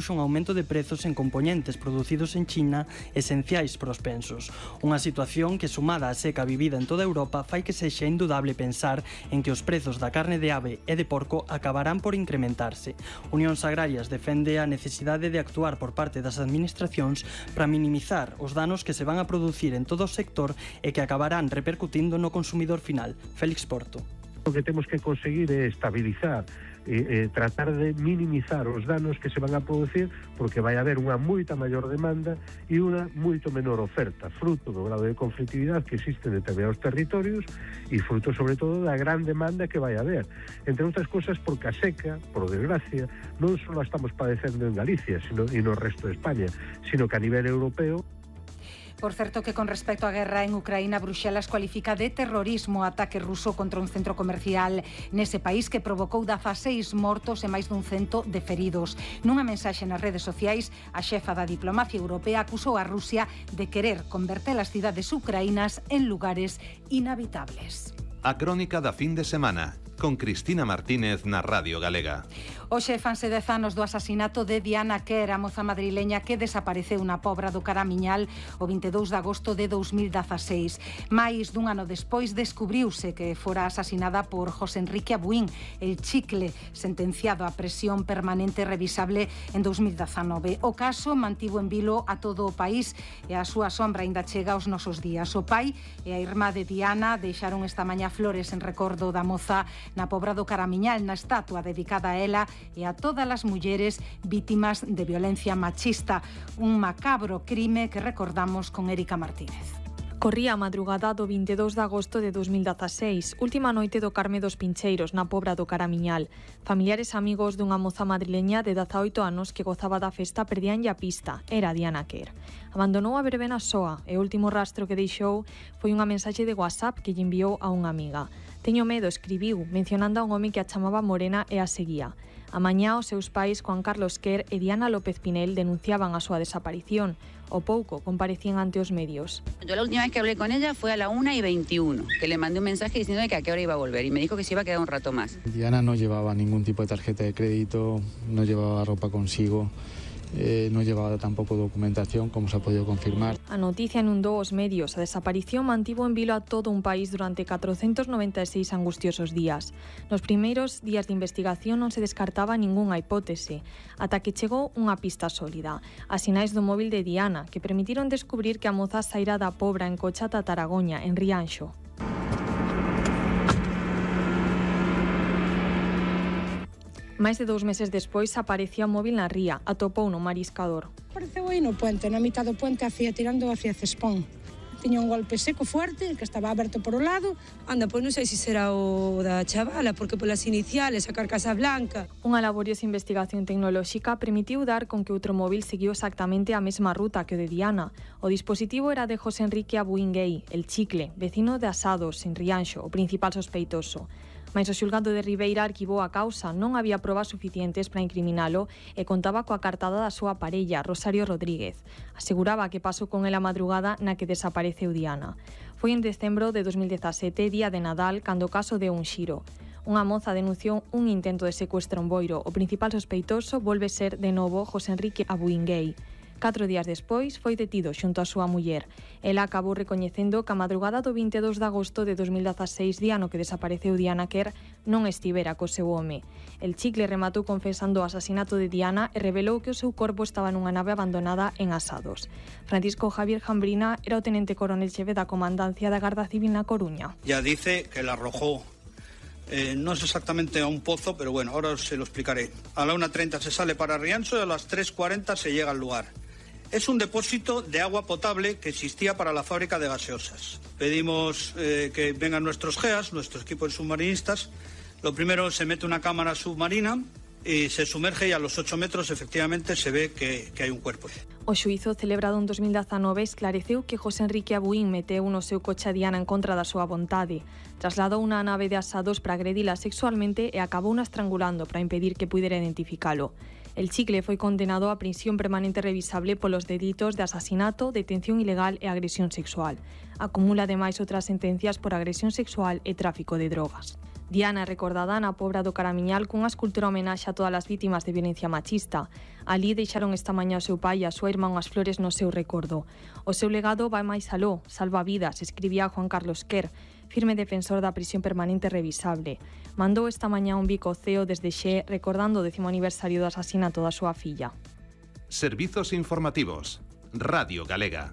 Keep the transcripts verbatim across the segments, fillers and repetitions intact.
un aumento de prezos en componentes producidos en China esenciais para os pensos. Unha situación que, sumada á seca vivida en toda Europa, fai que sexa indudable pensar en que os prezos da carne de ave e de porco acabarán por incrementarse. Unións Agrarias defende a necesidade de actuar por parte das administracións para minimizar os danos que se van a producir en todo o sector e que acabarán repercutindo no consumidor final. Félix Porto. O que temos que conseguir é estabilizar e eh, tratar de minimizar os danos que se van a producir, porque vai haber unha moita maior demanda e unha moito menor oferta, fruto do grado de conflictividade que existe en determinados territorios e fruto sobre todo da gran demanda que vai haber, entre outras cosas porque a seca, por desgracia, non só a estamos padecendo en Galicia sino, e no resto de España, sino que a nivel europeo. Por certo que con respecto á guerra en Ucraína, Bruxelas cualifica de terrorismo o ataque ruso contra un centro comercial nese país que provocou dezaseis mortos e máis dun cento de feridos. Nunha mensaxe nas redes sociais, a xefa da diplomacia europea acusou a Rusia de querer converter as cidades ucraínas en lugares inhabitables. A crónica da fin de semana, con Cristina Martínez na Radio Galega. Hoxe fanse dez anos do asasinato de Diana Quer, a moza madrileña que desapareceu na Pobra do Caramiñal o vinte e dous de agosto de dous mil dezaseis. Mais dun ano despois descubriuse que fora asasinada por José Enrique Abuín, el chicle, sentenciado a presión permanente revisable en dous mil dezanove. O caso mantivo en vilo a todo o país e a súa sombra ainda chega aos nosos días. O pai e a irmá de Diana deixaron esta mañá flores en recordo da moza na Pobra do Caramiñal, na estatua dedicada a ela e a todas as mulleres vítimas de violencia machista. Un macabro crime que recordamos con Érica Martínez. Corría a madrugada do vinte e dous de agosto de dous mil dezaseis, última noite do Carme dos Pincheiros, na Pobra do Caramiñal. Familiares e amigos dunha moza madrileña de dezaoito anos que gozaba da festa perdíanlle a pista. Era Diana Quer. Abandonou a verbena soa e o último rastro que deixou foi unha mensaxe de WhatsApp que lle enviou a unha amiga. Teño medo, escribiu, mencionando a un home que a chamaba Morena e a seguía. A mañá, os seus pais, Juan Carlos Quer e Diana López Pinel, denunciaban a súa desaparición. O pouco comparecían ante os medios. Yo la última vez que hablé con ella fue a la una y veintiuno, que le mandé un mensaje diciendo que a qué hora iba a volver y me dijo que se iba a quedar un rato más. Diana no llevaba ningún tipo de tarjeta de crédito, no llevaba ropa consigo. Eh, no llevaba tampoco documentación, como se ha podido confirmar. A noticia inundou os medios. A desaparición mantivo en vilo a todo un país durante catrocentos noventa e seis angustiosos días. Nos primeiros días de investigación non se descartaba ningunha hipótese, ata que chegou unha pista sólida. As sinais do móvil de Diana, que permitiron descubrir que a moza saíra da Pobra en coche ata Taragoña, en Rianxo. Máis de dous meses despois aparecía o móvil na ría, atopou no mariscador. Apareceu aí no puente, na mitad do puente, hacia, tirando hacia Cespón. Tiña un golpe seco forte, que estaba aberto por o lado. Anda, pois non sei se será o da chavala, porque polas iniciales, a carcasa blanca. Unha laboriosa investigación tecnolóxica permitiu dar con que outro móvil seguiu exactamente a mesma ruta que o de Diana. O dispositivo era de José Enrique Abuín Gay, el chicle, vecino de Asados, en Rianxo, o principal sospeitoso. Mais o xulgado de Ribeira arquivou a causa, non había probas suficientes para incriminalo e contaba coa cartada da súa parella, Rosario Rodríguez. Aseguraba que pasou con ela a madrugada na que desapareceu Diana. Foi en decembro de dos mil dezasete, día de Nadal, cando o caso deu un xiro. Unha moza denunciou un intento de secuestro en Boiro. O principal sospeitoso volve ser de novo José Enrique Abuín Gay. Catro días despois foi detido xunto a súa muller. Ela acabou recoñecendo que a madrugada do vinte e dous de agosto de dos mil dezaseis, día no que desapareceu Diana Quer, non estivera co seu home. El chicle rematou confesando o asasinato de Diana e revelou que o seu corpo estaba nunha nave abandonada en Asados. Francisco Javier Jambrina era o tenente coronel xefe da Comandancia da Garda Civil na Coruña. Ya dice que la arrojó. Eh, no es exactamente a un pozo, pero bueno, ahora se lo explicaré. A la una treinta se sale para Rianxo y a las tres cuarenta se llega al lugar. Es un depósito de agua potable que existía para la fábrica de gaseosas. Pedimos eh, que vengan nuestros G E A S, nuestro equipo de submarinistas. Lo primero, se mete una cámara submarina y se sumerge y a los ocho metros efectivamente se ve que, que hay un cuerpo. O xuízo celebrado en dos mil dezanove esclareceu que José Enrique Abuín meteu no seu coche a Diana en contra da súa vontade. Trasladou unha nave de Asados para agredila sexualmente e acabou na estrangulando para impedir que pudera identificalo. El chicle foi condenado a prisión permanente revisable polos delitos de asasinato, detención ilegal e agresión sexual. Acumula ademais outras sentencias por agresión sexual e tráfico de drogas. Diana é recordada na Pobra do Caramiñal cunha escultura homenaxe a todas as vítimas de violencia machista. Alí deixaron esta mañá o seu pai e a súa irmá unhas flores no seu recordo. O seu legado vai máis aló, salva vidas, escribía Juan Carlos Quer, firme defensor da prisión permanente revisable. Mandou esta mañá un bico ceo desde Xe recordando o décimo aniversario do asasinato da súa filla. Servizos informativos. Radio Galega.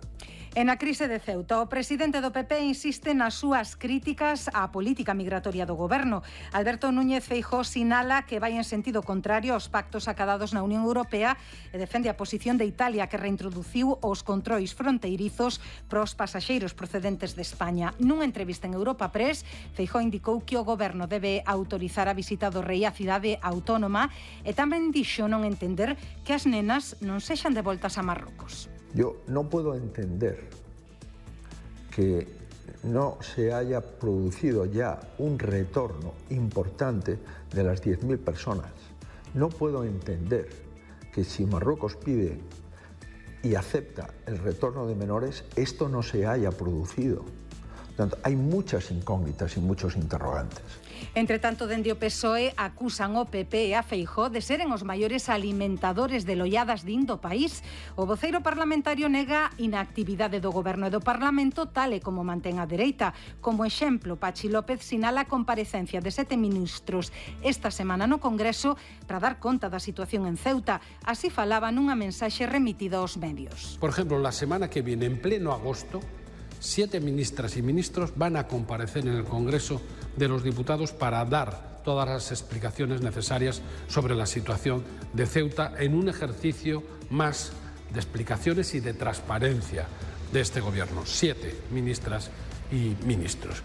E na crise de Ceuta, o presidente do P P insiste nas súas críticas á política migratoria do goberno. Alberto Núñez Feijóo sinala que vai en sentido contrario aos pactos acadados na Unión Europea e defende a posición de Italia, que reintroduciu os controis fronteirizos pros pasaxeiros procedentes de España. Nunha entrevista en Europa Press, Feijóo indicou que o goberno debe autorizar a visita do rei á cidade autónoma e tamén dixo non entender que as nenas non sexan devoltas a Marrocos. Yo no puedo entender que no se haya producido ya un retorno importante de las diez mil personas. No puedo entender que si Marruecos pide y acepta el retorno de menores, esto no se haya producido. Por tanto, hay muchas incógnitas y muchos interrogantes. Entre tanto, dende o P S O E acusan o P P e a Feijóo de seren os maiores alimentadores de loiadas din do país. O voceiro parlamentario nega inactividade do goberno e do Parlamento, tal e como mantén a dereita. Como exemplo, Pachi López sinala a comparecencia de sete ministros esta semana no Congreso para dar conta da situación en Ceuta. Así falaba nunha mensaxe remitida aos medios. Por ejemplo, la semana que viene, en pleno agosto, siete ministras y ministros van a comparecer en el Congreso de los Diputados para dar todas las explicaciones necesarias sobre la situación de Ceuta en un ejercicio más de explicaciones y de transparencia de este Gobierno. Siete ministras y ministros.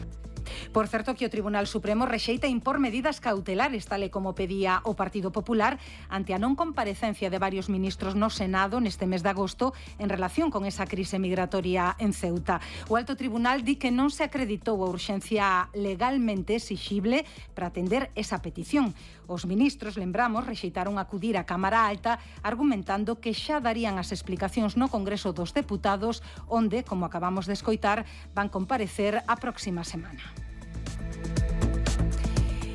Por certo, que o Tribunal Supremo rexeita impor medidas cautelares, tal e como pedía o Partido Popular, ante a non comparecencia de varios ministros no Senado neste mes de agosto en relación con esa crise migratoria en Ceuta. O Alto Tribunal di que non se acreditou a urxencia legalmente exixible para atender esa petición. Os ministros, lembramos, rexeitaron acudir á Cámara Alta argumentando que xa darían as explicacións no Congreso dos Deputados, onde, como acabamos de escoitar, van comparecer a próxima semana.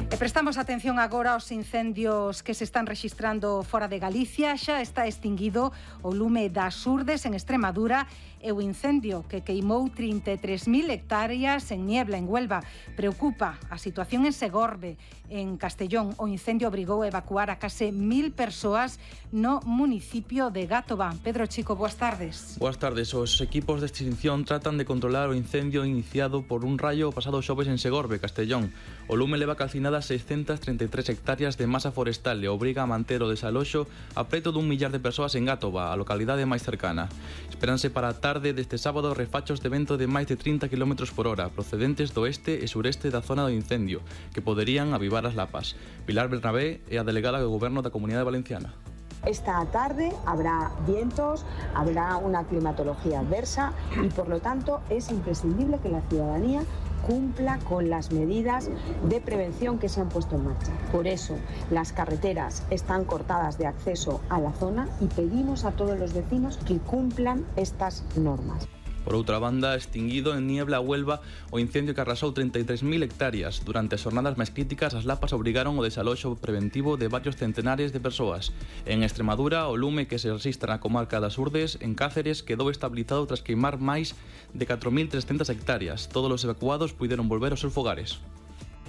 E prestamos atención agora aos incendios que se están rexistrando fora de Galicia. Xa está extinguido o lume das Urdes en Extremadura e o incendio que queimou trinta e tres mil hectáreas en Niebla, en Huelva. Preocupa a situación en Segorbe, en Castellón. O incendio obrigou a evacuar a case mil persoas no municipio de Gátova. Pedro Chico, boas tardes. Boas tardes. Os equipos de extinción tratan de controlar o incendio iniciado por un raio o pasado xoves en Segorbe, Castellón. O lume leva calcinadas seiscentas treinta e tres hectáreas de masa forestal e obriga a manter o desaloxo a preto dun millar de persoas en Gátova, a localidade máis cercana. Esperanse para a tarde deste sábado refachos de vento de máis de trinta kilómetros por hora, procedentes do este e sureste da zona do incendio, que poderían avivar as lapas. Pilar Bernabé é a delegada do Goberno da Comunidade Valenciana. Esta tarde habrá vientos, habrá una climatología adversa y por lo tanto es imprescindible que la ciudadanía cumpla con las medidas de prevención que se han puesto en marcha. Por eso las carreteras están cortadas de acceso a la zona y pedimos a todos los vecinos que cumplan estas normas. Por outra banda, extinguido en Niebla, Huelva, o incendio que arrasou trinta e tres mil hectáreas. Durante as xornadas máis críticas, as lapas obrigaron o desaloxo preventivo de varios centenares de persoas. En Extremadura, o lume que se resistra na comarca das Urdes, en Cáceres, quedou estabilizado tras queimar máis de catro mil trescentas hectáreas. Todos os evacuados puideron volver aos seus fogares.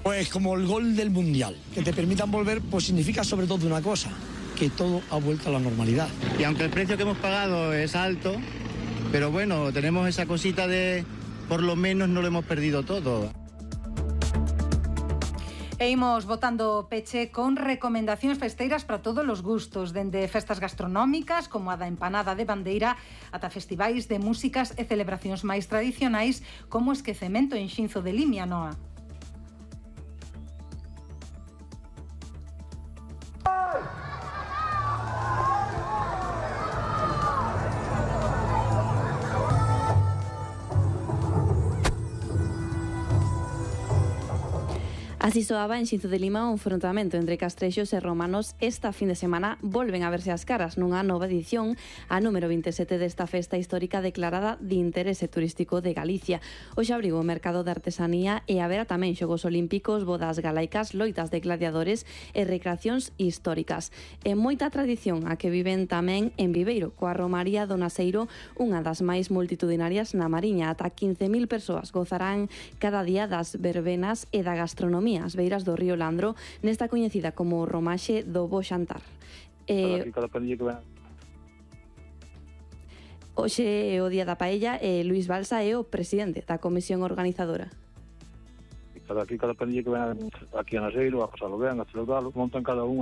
Pues como el gol del Mundial, que te permitan volver, pues significa sobre todo una cosa, que todo ha vuelto a la normalidad. Y aunque el precio que hemos pagado es alto, pero bueno, tenemos esa cosita de, por lo menos no lo hemos perdido todo. E imos botando peche con recomendacións festeiras para todos os gustos, dende festas gastronómicas como a da empanada de bandeira ata festivais de músicas e celebracións máis tradicionais como o esquecemento en Xinzo de Limia, Noa. A Así soaba en Xinzo de Lima un enfrontamento entre castrexos e romanos. Esta fin de semana volven a verse as caras nunha nova edición, a número vinte e sete desta festa histórica declarada de interese turístico de Galicia. Hoxe abrigo o mercado de artesanía e haberá tamén xogos olímpicos, bodas galaicas, loitas de gladiadores e recreacións históricas. E moita tradición a que viven tamén en Viveiro, coa Romaría do Naseiro, unha das máis multitudinarias na Mariña. Ata quince mil persoas gozarán cada día das verbenas e da gastronomía as beiras do río Landro, nesta coñecida como Romaxe do Bo Xantar. Eh, Hoxe é o Día da Paella e Luís Balsa é o presidente da comisión organizadora. Cada aquí, cada pandilla que ven aquí a Naseiro, a pasalo ben, a celebralo, montan cada un